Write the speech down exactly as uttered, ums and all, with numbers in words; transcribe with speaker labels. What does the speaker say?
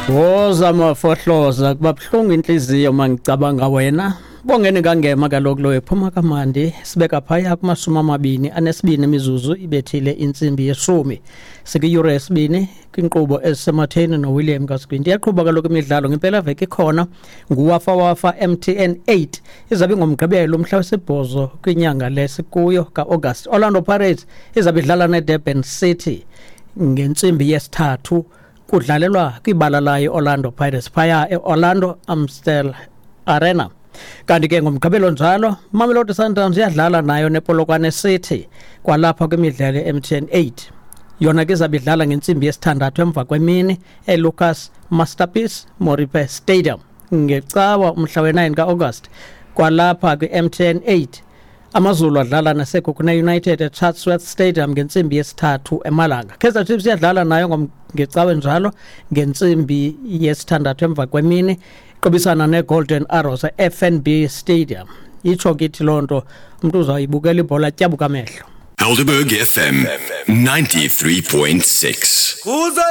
Speaker 1: Woza mafohloza, kuba buhlungu intliziyo mangicabanga wena. Bongeni kangema kaloku lo ephuma kamandi, sibeka phaya kumashumi amabini anesibini imizuzu ibethile intsimbi yeshumi. Sikwiyure yesibini kwinkqubo ezisematheni noWilliam Kaskwinti. Iyaqhuba kaloku imidlalo ngempela veki ikhona nguWafa Wafa M T N eight. Izabe ingomgqibelo umhla wesibhozo kwinyanga le sikuyo ka-August. Orlando Pirates izabe idlala neDurban City ngentsimbi yesithathu, kudlalelwa kwibala layo Orlando Pirates phaya e-Orlando Amstel Arena. Kanti ke ngomgqibelo njalo Mamelodi Sundowns iyadlala nayo nePolokwane City kwalapha kwimidlalo ye-M T N eight. Yona ke izabe idlala ngentsimbi yesithandathu emva kwemini eLucas Masterpiece Moripe Stadium ngecawa umhla we-nine ka-August kwalapha kwi-M T N eight. AmaZulu adlala naseKhukhune United eChatsworth Stadium ngentsimbi yesithathu emalanga. Kaizer Chiefs iyadlala nayo ngecawe njalo ngentsimbi yesithandathu emva kwemini, iqubisana neGolden Arrows e-F N B Stadium. Itsho kithi loo nto umntu uzawuyibukela ibhola tyabuka amehlo.
Speaker 2: Helderberg F M ninety-three point six.
Speaker 3: Kuza